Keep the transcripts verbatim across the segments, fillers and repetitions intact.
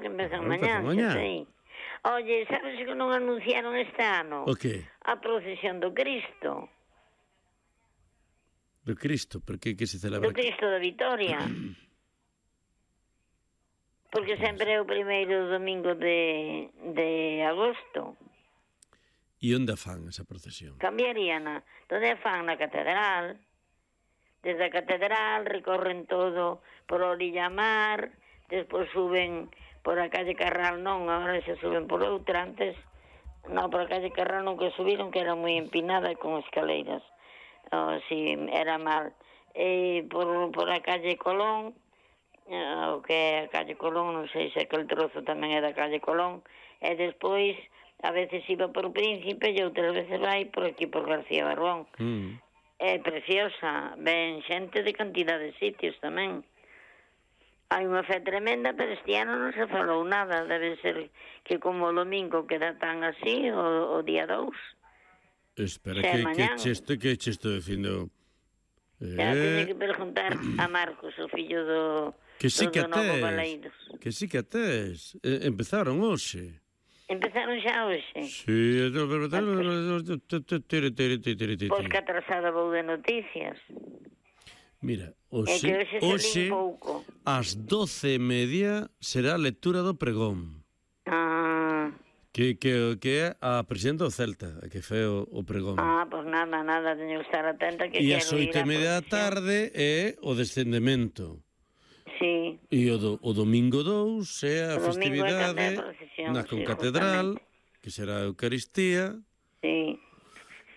que empezan Claro, mañá, empezan mañá. sí. Oye, sabes que non anunciaron este ano? O que? A procesión do Cristo. Do Cristo, por que que se celebra? Do Cristo da Vitoria. Porque sempre é o primeiro domingo de, de agosto. E onde fan esa procesión? Cambiaríana. Donde fan na catedral. Desde a catedral recorren todo por Orilla Mar, despois suben por a calle Carral, non, agora se suben por outra, antes, non, por a calle Carral non que subiron, que era moi empinada con escaleiras. Oh, si, era mal. E por, por a calle Colón, o que é a calle Colón, non sei se aquel trozo tamén é da calle Colón, e despois a veces iba por Príncipe e outras veces vai por aquí por García Barbón. Mm. É preciosa, ven xente de cantidad de sitios tamén. Hai unha fe tremenda, pero este ano non se falou nada, debe ser que como o domingo queda tan así, o, o día dous. Espera, Xa que, que mañán. che estou, que che estou dicindo? Xa teño Eh, que preguntar a Marcos, o fillo do, que sí do, que do Novo tes, Baleidos. que sí que tes. Eh, empezaron hoxe. Empezaron xa hoxe. Sí, Pois que atrasada vou de noticias. mira, É que hoxe, hoxe hoxe salí un pouco. ás doce e media será a lectura do pregón. Ah, Que, que, que é a presidenta do Celta, a que fe o, o pregón. ah, pois nada, nada, teño que estar atenta que E quero ás ir oito e á media da procesión. tarde é o descendemento. Sí. E o, do, o domingo dous é a O domingo é festividade cando é a procesión, na sí, concatedral, justamente. que será a Eucaristía. Sí.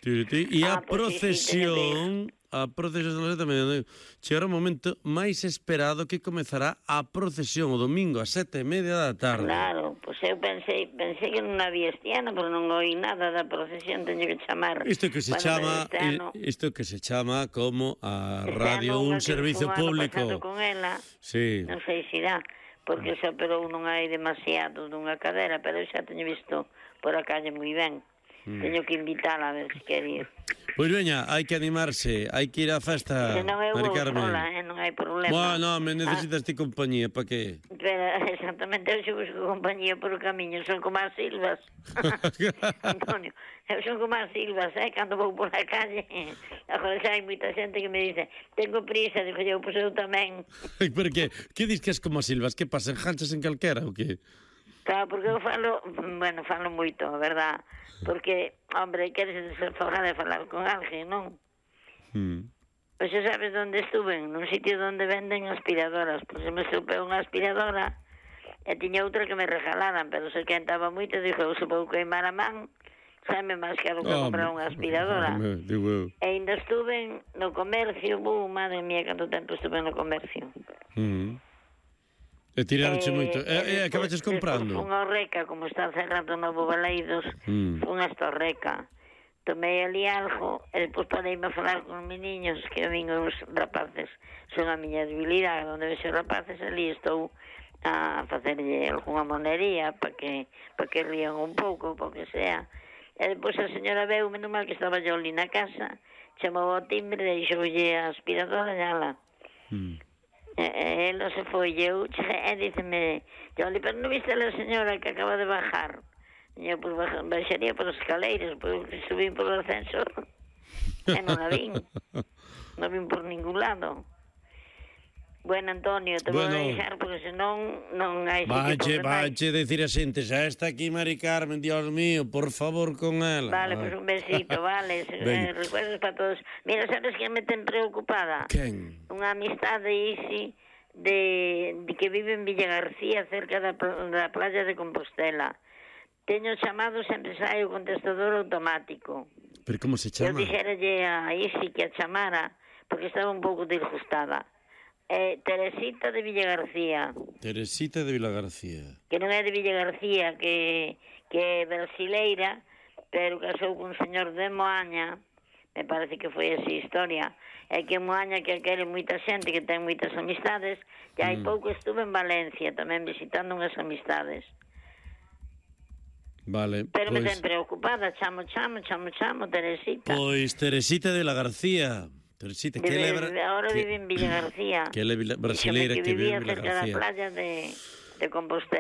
E a Ah, pois sí, sí, teño que procesión, a procesión tamén chegará o momento máis esperado, que comezará a procesión o domingo a sete e media da tarde. Claro, pois eu pensei, pensei que non había este ano, pero non oí nada da procesión, teño que chamar. Isto que se Bueno, chama este ano- isto que se chama como a este radio ano un unha que servicio fun ano público. pasado con ela, Sí. non sei se irá, porque se operou non hai demasiado dunha cadera, pero eu xa teño visto por a calle moi ben. Mm. Teño que invitala a ver se quer ir. Pois veña, hai que animarse, hai que ir á festa, Se non eu Mari vou Carmen. sola, eh, non hai problema. Bueno, me necesitas ti compañía, pa que? Pero, exactamente, eu xe busco compañía por o camiño, son como as silvas. Antonio, eu son como as silvas, eh, cando vou por a calle. Agora xa hai moita xente que me dice, tengo prisa, digo eu, pois eu tamén. Pero que, que dis que es como as silvas? Que pasa, enganchas en calquera ou que? Claro, porque eu falo, bueno, falo moito, a verdad, porque, hombre, queres desfogar de falar con alguén, non? Hmm. Pois xa sabes onde estuve, nun sitio onde venden aspiradoras, pois se me estupeu unha aspiradora, e tiña outra que me regalaran, pero se quentaba moito, dixo, eu se vou queimar a man, sabe máis caro que Oh, comprar unha aspiradora. me, digo eu. E ainda estuve no comercio, bu, madre mía, canto tempo estuve no comercio. Hmm. E tiraronche moito. E, e acabaches comprando? Fun ao Reca, como está cerrado Novo Baleidos, Mm. fun hasta o Reca. Tomei ali algo, e depois pareime a falar con os meniños, que vin os rapaces, son a miña debilidade, onde vexo os rapaces, ali estou a facerlle algunha monería, para que, pa que rían un pouco, para que sea. E depois a señora veu, menos mal que estaba yo ali na casa, chamou ao timbre, deixoulle a aspiradora e ala. Hmm. E, e elo se foi, e eu, e díceme, Joli, pero non viste a la señora que acaba de bajar? E eu, pues, baixaría por as escaleiras, pues, subín por o ascensor, e non a vin, non vin por ningún lado. Bueno, Antonio, te Bueno. vou deixar, porque senón non hai sitio Vache, por demais. vache decir a xente, xa está aquí Mari Carmen, Dios mío, por favor con ela. Vale, pues un besito, vale, eh, recuerdos para todos. Mira, sabes que me ten preocupada? Quen? Unha amistade isi de, de que vive en Villa García, cerca da, da playa de Compostela. Teño chamado, sempre sai o contestador automático. Pero como se Eu chama? dixeralle a Isi que a chamara, porque estaba un pouco disgustada. Eh, Teresita de Villa García, Teresita de Vila García. que non é de Villa García, que, que é brasileira, pero casou cun señor de Moaña, me parece que foi así historia, é que Moaña que quere moita xente, que ten moitas amistades, e hai Mm. pouco estuve en Valencia, tamén visitando unhas amistades. Vale, Pero me pois, ten preocupada, chamo, chamo, chamo, chamo, Teresita. pois Teresita de Vila García. Teresita, que Vive- lebra... ahora que, vive en Villa García. que é la Díxome brasileira que vive vivía en Vila cerca da García. playa de, de Compostela.